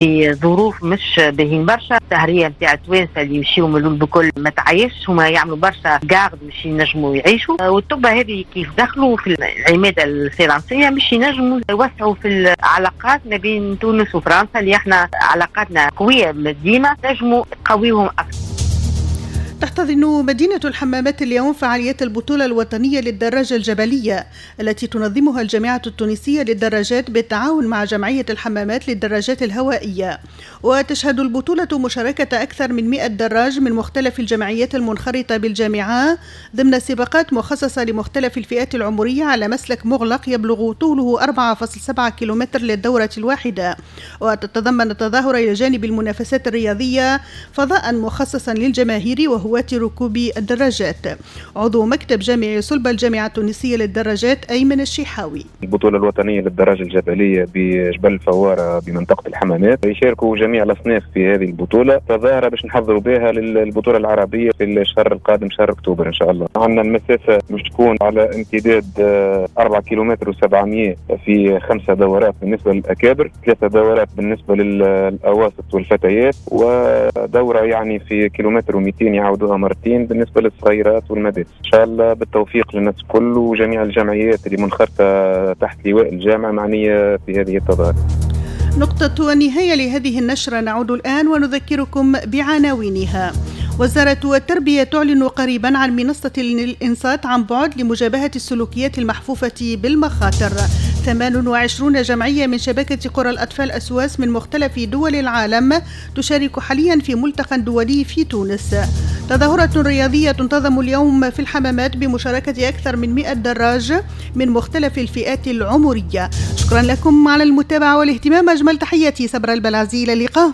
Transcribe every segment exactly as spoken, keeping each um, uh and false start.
في ظروف مش باهين برشا. السهريه نتاع التوانسة اللي يمشيو من الاول بكل ما تعيش، هما يعملوا برشا garde باش ينجموا يعيشوا، والطب هذه كيف دخلوا في العماده الفرنسية مش ينجموا يوسعوا في العلاقات ما بين تونس وفرنسا اللي احنا علاقاتنا قوية ديما، نجموا نقويوهم اكثر. تحتضن مدينة الحمامات اليوم فعاليات البطولة الوطنية للدراجة الجبلية التي تنظمها الجامعة التونسية للدراجات بالتعاون مع جمعية الحمامات للدراجات الهوائية. وتشهد البطولة مشاركة أكثر من مئة دراج من مختلف الجمعيات المنخرطة بالجامعة ضمن سباقات مخصصة لمختلف الفئات العمرية على مسلك مغلق يبلغ طوله أربعة فاصلة سبعة كيلومتر للدورة الواحدة. وتتضمن التظاهرة إلى جانب المنافسات الرياضية فضاء مخصصا للجماهير وهو ركوب الدراجات. عضو مكتب جامعي صلب الجامعة التونسية للدراجات أيمن الشيحاوي. البطولة الوطنية للدراجة الجبلية بجبل الفوارة بمنطقة الحمامات يشاركوا جميع الأصناف في هذه البطولة، تظاهرة باش نحضروا بها للبطولة العربية في الشهر القادم شهر أكتوبر إن شاء الله. عندنا المسافة مش تكون على امتداد أربعة كيلومتر وسبعمية في خمسة دورات بالنسبة للأكابر، ثلاثة دورات بالنسبة للأواسط والفتيات، ودورة يعني في كيلومتر ومئتين يعود مرتين بالنسبة للصغيرات والمدارس. إن شاء الله بالتوفيق للناس الكل وجميع الجمعيات اللي منخرطة تحت لواء الجامعة معنية في هذه التظاهرة. نقطة النهاية لهذه النشرة، نعود الآن ونذكركم بعناوينها. وزارة التربية تعلن قريبا عن منصة الإنصات عن بعد لمجابهة السلوكيات المحفوفة بالمخاطر. ثمان وعشرون جمعية من شبكة قرى الأطفال أسواس من مختلف دول العالم تشارك حاليا في ملتقى دولي في تونس. تظاهرة رياضية تنتظم اليوم في الحمامات بمشاركة أكثر من مئة دراج من مختلف الفئات العمرية. شكرا لكم على المتابعة والاهتمام. أجمل تحياتي صبر البلعزي، إلى اللقاء.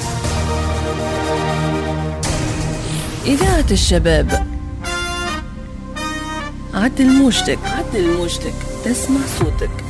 إذاعة الشباب، عدل موجتك، عدل موجتك، تسمع صوتك.